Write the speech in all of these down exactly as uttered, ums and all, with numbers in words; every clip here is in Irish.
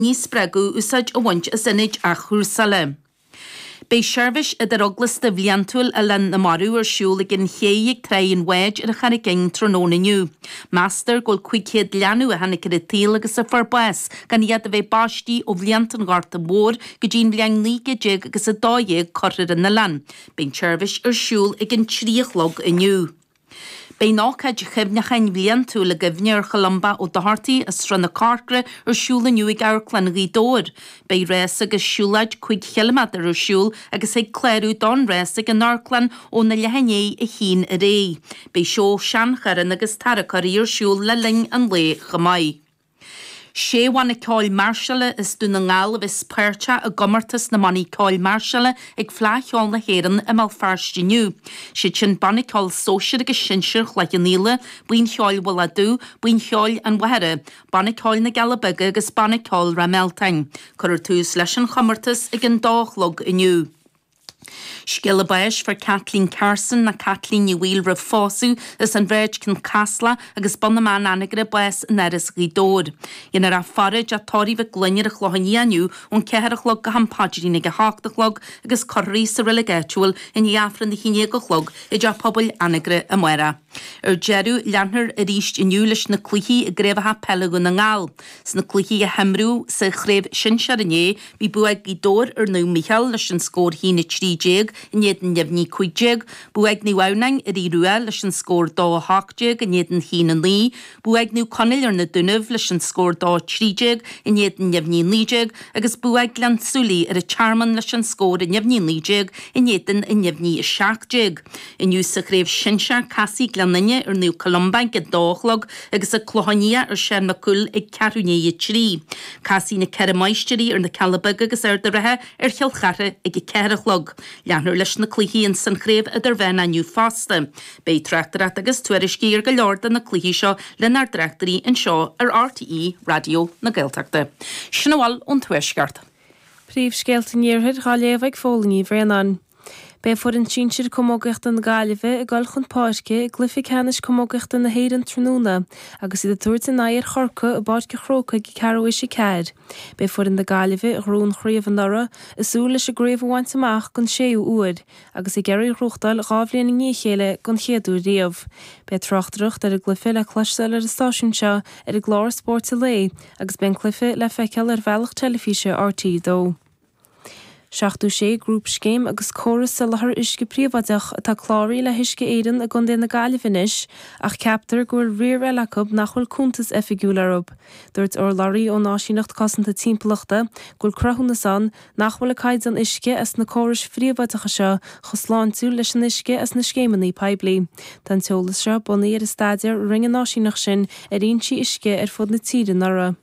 a spreagadh úsáid a bhaint as ionaid athchúrsála. Beidh seirbhís idireaglasta bhliantúil Oileán na Marbh ar siúl ag an ché ag Tráigh an Bháid ar an Charraig Fhinn tráthnóna inniu. Meastar go bhfuil cúig chéad leanbh a tháinig ar an tsaol agus a fuair bás gan iad a bheith baistí ó bhlianta an Ghorta Mhóir go dtí an bhliain naoi gcéad déag agus a dó dhéag curtha ar an oileán. Beidh an tseirbhís ar siúl ag an trí a chlog inniu. Beidh an ócáid chuimhneacháin bhliantúil i gcuimhne ar Cholumba Ó Dochartaigh as Srath na Corcra ar siúl inniu ag Amharclann Ghaoth Dobhair. Beidh rás agus siúlóid cúig chiliméadar ar siúl agus thig clárú don rás ag an amharclann óna leath i ndiaidh a haon ar aghaidh. Beidh seó seancharranna agus tarracóirí ar siúl le linn an lae chomh maith. Sé bhanna ceoil máirseála as Dún na nGall a bheas páirteach i gcomórtas na mbannaí ceoil máirseála ag Fleadh Cheoil na hÉireann i mBéal Feirste inniu. Siad sin Banna Ceoil Sóisir agus Sinsir Chloich Cheann Fhaola, Buíon Cheoil Mhullach Dubh, Buíon Cheoil an Mhachaire, Banna Ceoil na gCealla Beaga agus Banna Ceoil Ráth Mealtain. Cuirfear tús leis an chomórtas ag an dó a chlog inniu. Scéala báis fuair Kathleen Carson nó Caitlín Ní Bhaoill roimh phósadh as an Bhráid Cionn Caslach agus Bun na mBan Anagaire bás in Áras Ghaoth Dobhair. Dhéanfar í a faire i dTeach Tórraimh Mhic Gloinn ar an Chlochán Liath inniu ón ceathair a chlog go ham paidrín ag a hocht a chlog agus cuirfear í sa reilig áitiúil i ndiaidh Aifreann a haon déag a chlog i dTeach Pobail Anagaire amárach. Ar deireadh, leanfar arís inniu leis na cluichí i gcraobhacha peile Dhún na nGall. Sna cluichí a himríodh sa chraobh shinsir inné, bhí bua ag Gaoth Dobhair ar Naomh Micheál leis an scór a haon a trí déag in éadan neamhní cúig déag, bua ag Naomh Adhamhnáin ar Aodh Rua leis an scór dó a hocht déag in éadan haon a naoi, bua ag Naomh Conaill ar na Dúnaibh leis an scór dó a trí déag in éadan neamhní naoi déag agus bua ag Gleann tSúilí ar an Tearmann leis an scór neamhní naoi déag in éadan neamhní a seacht déag. Inniu sa chraobh shinsir, casfaidh Gleann Fhinne ar Naomh Columba ag a dó a chlog agus an Clochán Liath ar Seán Mac Cumhaill ag ceathrú i ndiaidh a trí. Casfaidh na Ceithre Máistrí ar na Cealla Beaga agus Ard an Rátha ar Chill Chartha ag a ceathair a chlog. Leanfar leis na cluichí ins an chraobh idirmheánach inniu fosta. Beidh tráchtaireacht agus tuairiscí ar go leor de na cluichí seo lenár dtráchtairí anseo ar RTÉ Raidió na Gaeltachta. Sin a bhfuil ón Tuaisceart. Príomhscéalta an Iarthair dhá léamh ag Fódhla Ní Bhraonáin. Beidh foireann sinsir camógaíochta na Gaillimhe ag dul chun páirce i gcluiche ceannais camógaíochta na hÉireann tráthnóna agus iad ag tabhairt a n-aghaidh ar Chorcaigh i bPáirc an Chrócaigh ag ceathrú théis a ceathair. Beidh foireann na Gaillimhe, a ghnóthaigh an chraobh anuraidh, ag súil leis an gcraobh a bhaint amach don séú huair agus ag iarraidh í a ghnóthachtáil dhá bhliain i ndiaidh a chéile don chéad uair riamh. Beidh tráchtaireacht ar an gcluiche le cloisteáil ar an stáisiún seo ar an gclár Spóirt an Lae agus beidh an cluiche le feiceáil ar bhealach teilifíse RTÉ a dó. seachtó sé grúpscéim agus córas soláthair uisce príobháideach atá cláraithe le hUisce Éireann i gContae na Gaillimhe anois ach ceaptar go bhfuil riar eile acu nach bhfuil cuntas oifigiúil orthu. Dúirt urlabhraí ón Áisíneacht Cosanta Timpeallachta go bhfuil cruthúnas ann nach bhfuil an caighdeán uisce as na córais phríobháideacha seo chomh sláintiúil leis an uisce as na scéimeanna poiblí. Tá an t-eolas seo bunaithe ar an staidéar a rinne an áisíneacht sin ar fhoinsí uisce ar fud na tíre anuraidh.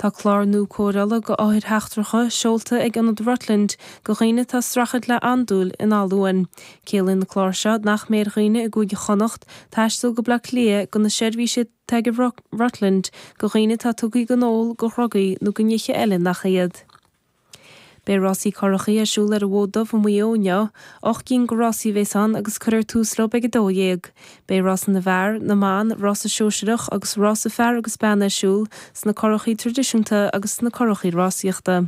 Tá clár nua cóireála do othair sheachtracha seolta ag Ionad Rutland do dhaoine atá ag streachailt le andúil in Áth Luain. Ciallaíonn an clár seo nach mbeidh ar dhaoine i gCúige Chonnacht taisteal go Baile Átha Cliath do na seirbhísí atá ag Rutland do dhaoine atá tugtha don ól, do dhrugaí nó do nithe eile nach iad. Beidh rásaí curachaí ar siúl ar an bhFód Dubh i Maigh Eo inniu. Ocht gcinn de rásaí a bheas ann agus cuirfear tús leo ag a dó dhéag. Beidh rása na bhfear, na mban, rása sóisearach agus rása fear agus bean ar siúl sna curachaí traidisiúnta agus sna curachaí rásaíochta.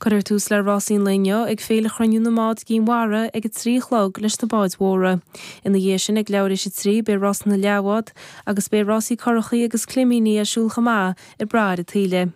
Cuirfear tús le rásaí an lae inniu ag Féile Chruinniú na mBád i gCinn Mhara ag a trí a chlog leis na báid mhóra. Ina dhiaidh sin ag leathuair théis a trí beidh rása na leathbhád agus beidh rásaí curachaí agus climíní ar siúl chomh maith i mBarr an tSaoile.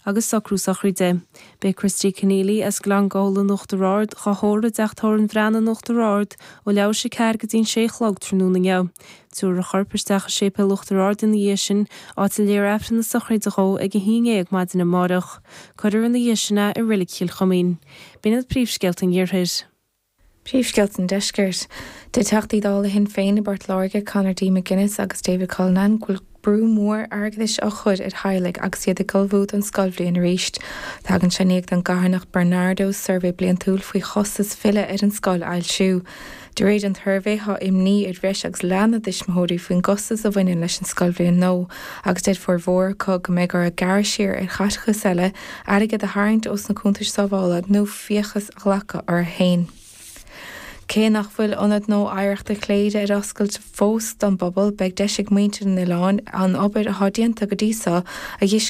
Agus socrú sochraide. Beidh Christy Conneely as Gleann Gabhla in Uachtar Ard dhá thórramh i dteach tórraimh an Bhreathnaigh in Uachtar Ard ó leathuair théis a ceathair go dtí an sé a chlog tráthnóna inniu. Tabharfar a chorp isteach i séipéal Uachtar Ard ina dhiaidh sin, áit a léifear Aifreann na sochraide dhó ag a haon dhéag maidin amárach. Cuirfear ina dhiaidh sin é i Reilig Chill Choimín. B'in iad príomhscéalta an Iarthair. Príomhscéalta an Deiscirt. Deir Teachtaí Dála Shinn Féin i bPort Láirge, Conor D. McGuinness agus David Cullinane, go bhfuil brú mór airgeadais á chur ar theaghlaigh agus iad ag ullmhú don scoilbhliain arís. Tagann sé i ndiaidh don gcarthanacht Barnardo suirbhé bliantúil faoi chostas filleadh ar an scoil a fhoilsiú. De réir an tsuirbhé, tá imní ar bhreis agus leath na dtuismitheoirí faoin gcostas a bhaineann leis an scoilbhliain nua agus deir formhór acu go mbeidh orthu gearradh siar ar chaiteachas eile, airgead a tharraingt ós na cuntais sábhála nó fiachas a ghlacadh orthu féin. Cé nach bhfuil Ionad Nua Oidhreachta Chléire ar oscailt fós don bpobal, beidh deis ag muintir an oileáin an obair atá déanta go dtí seo a